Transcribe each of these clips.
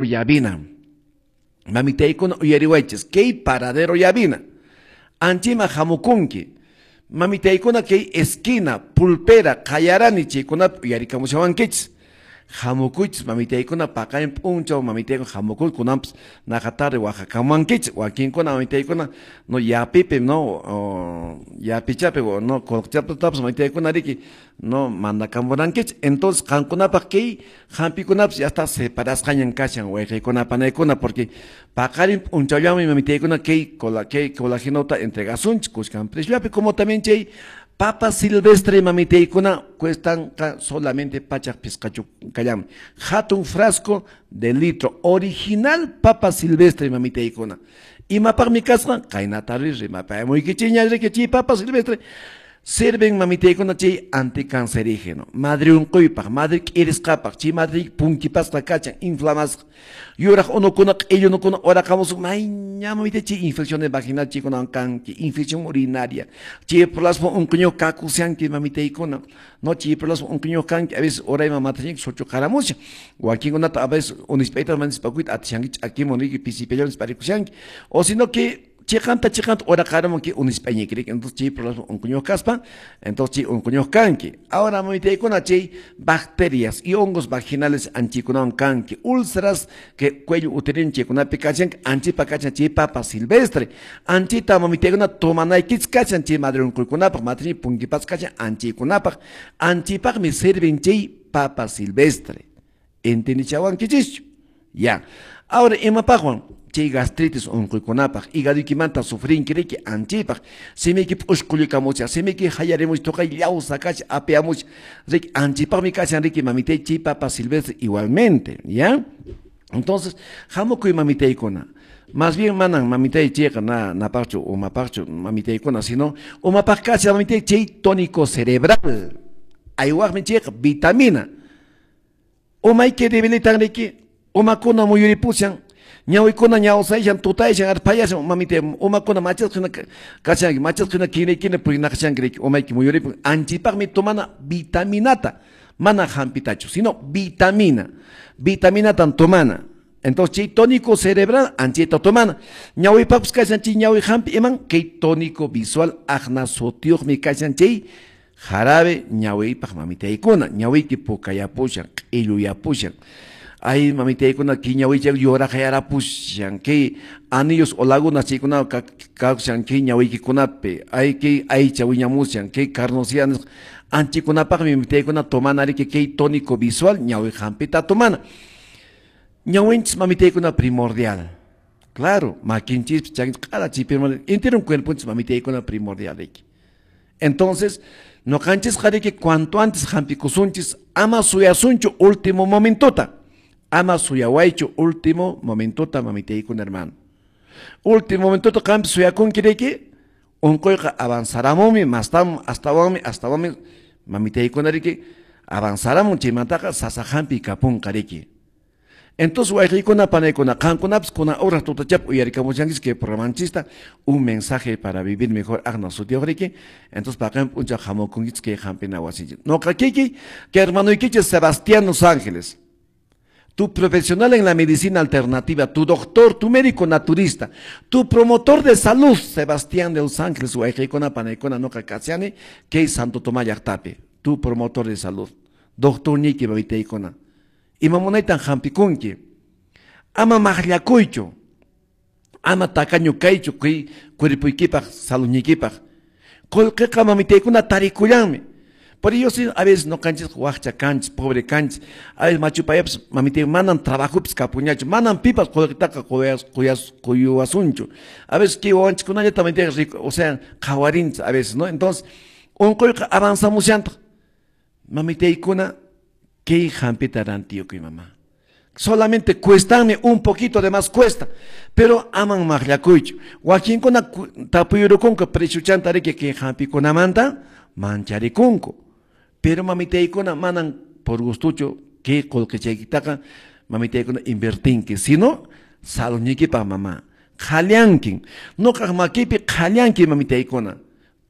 Llavina. Mamitaykuna, uyariwaychis, kay paradero Llavina. Anchima hamukunki. Mamitaykuna, kay esquina, pulpera, qayarani chaykunapi uyarikamushawankichis. Hamukuychis, mamitaykuna, paqarin p'unchaw, mamitaykuna, hamukuy, kunanpas naqa tarde waqakamuwankichis. Wakinkuna, mamitaykuna, no yapipi, no yapichapi, no qolqechapitapas, mamitaykuna, riki, no mandakamurankichis. Entonces qankunapaq kay hampikunapas ya está separasqañan kashan, wayqiykuna, panaykuna, porque paqarin p'unchawllamanmi, mamitaykuna, kay colagenota entregasunchis kuskan preciollapi, como también chay papa silvestre, mamitaykuna, cuestan solamente 105 kallanmi. Hatun frasco de litro, original papa silvestre, mamitaykuna. Imapaqmi kasqa? Qaynata rimapayamuykichikña, riki, chay papa silvestre sirven, mamitaykuna, chay anticancerígeno, madre unquypaq, madre k'irisqapaq, chay madre punkipasqa kachan, inflamasqa, yuraq unukuna, q'illu unukuna uraqamusun, mayña, mamitay, chay infecciones vaginal chaykunawan kanki, infección urinaria, chay plasma unquñuq kakushanki, mamitaykuna, no chay plasma unquñuq kanki, a veces urayman matashanki suchuqaramushan, wakinkunata a veces unispayta manispakuyta atishanki, ch'akimun, riki, pisipallan parikushanki, o sino que chiqanta chiqanta uraqaramun ki unisp'añiki, riki. Entonces chay problema unquñuq kaspa, entonces chay unquñuq kanki. Ahora, mamitaykuna, chay bacterias y hongos vaginales anchikunawan kanki, úlceras que cuello uterino chaykunapi kachanki, anchipa kachan chay papa silvestre. Anchita, mamitaykuna, tomanaykichis kachan chay madre unquykunapaq, madre punkipas kachan anchaykunapaq, anchipaqmi sirven chay papa silvestre. Entendichawankichischu? Ya. Ahora, imapaqwan? Chay gastritis unquykunapaq, hígadoykimanta sufrinki, riki, anchipaq, simiyki p'ushqullikamusha, simiyki hayarimush, tuqay llawsa kasha, apiamush, riki, anchipaqmi kashan, riki, mamitay, chay papa silvestre igualmente, ¿ya? Entonces, hamukuy, mamitaykuna. Más bien manan, mamitay, chayqa na napaqchu, umapaqchu, mamitaykuna, sino umapaq kashan, mamitay, chay tónico cerebral. Aywaqmi chayqa vitamina. Umayki debilitan, riki, umakuna muyuripushan, ñawikuna ñawsaysan, tutaysan, arpayashan, mamitay, umakuna machasqa hina kashanki, machasqa hina kinaykina purinaqashanki, riki, umayki muyuripun. Anchipaqmi tomana vitaminata, mana hampitachu, sino vitamina. Vitaminatan tomana. Entonces, chay tónico cerebral, anchita tomana. Ñawipaqpas kashan chay ñawi hampi iman, kay tónico visual aqna sutiyuqmi kashan chay jarabe ñawipaq, mamitaykuna, ñawiyki pukayapushan, q'illuyapushan. Ay, mamitaykuna, kay ñawicha yuraqyarapushan, kay anillos o lagunas chaykuna kashan kay ñawiykikunapi, ay, kay aycha wiñamushan, kay carnosidad nisqa. Anchikunapaqmi, mamitaykuna, tomana, riki, kay tónico visual ñawi hampita tomana. Ñawinchis, mamitaykuna, primordial. Claro, makinchis, chakinchis, q'ala chay primordial, entero cuerponchis, mamitaykuna, primordial, riki. Entonces, ñuqanchisqa, riki, cuanto antes hampikusunchis, ama suyasunchu último momentota. Ama suyawaychu último momentota, mamitaykuna, hermano. Último momentota qampi suyakunki, riki, unquyqa avanzaramunmi, mastam, astawanmi, astawanmi, mamitaykuna, riki, avanzaramun, chaymantaqa sasa hampi kapunqa, riki. Entonces, wayqiykuna, panaykuna, qankunapas kuna horas tutachap uyarikamushankichis kay programanchista, Un mensaje para vivir mejor aqna sutiyuq, riki. Entonces, paqarin p'unchaw hamukunkichis kay hampina wasinchis. Noqa kiki, kay hermanoykichis Sebastián Los Ángeles, tu profesional en la medicina alternativa, tu doctor, tu médico naturista, tu promotor de salud, Sebastián de Los Ángeles, wayqiykuna, panaykuna, noqa kashani, kay Santo Tomás llaqtapi, tu promotor de salud, doctor niki, mamitaykuna. Ima munaytan hampikunki. Ama maqllakuychu, ama tacaño kaychu kay cuerpoykipaq, saludniykipaq. Qullqiqa, mamitaykuna, tarikullanmi. Por ello, sí, a veces ñuqanchis wakcha kanchis, pobre kanchis, a veces machupayapas, mamitay, manan trabajupis kapuñachu, manan pipas qullqitaqa quyuwasunchu. A veces kay wawanchikkunallata, mamitay, rico, o sea, qhawarinchis a veces, ¿no? Entonces, unquyqa avanzamushantaq. Mamitaykuna, kay hampita rantiyukuy, mamá. Solamente cuestanmi un poquito de más cuesta, pero aman maqllakuychu. Wakinkuna tapuyurukunku prechuchanta, riki, kay hampikunamanta mancharikunku. Pero, mamitaykuna, manan por gustuchu kay qullqichaykitaqa, mamitaykuna, invertinki, sino saludniykipaq, mamá. Qhallankin. Nuqaq makipi qhallanki, mamitaykuna.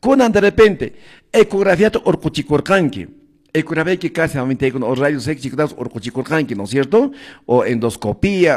Kunan de repente ecografiata urquchikurqanki. Ecografía casi mamitaykuna o rayos X chaykunapas urquchikurqanki, ¿no es cierto? O endoscopía.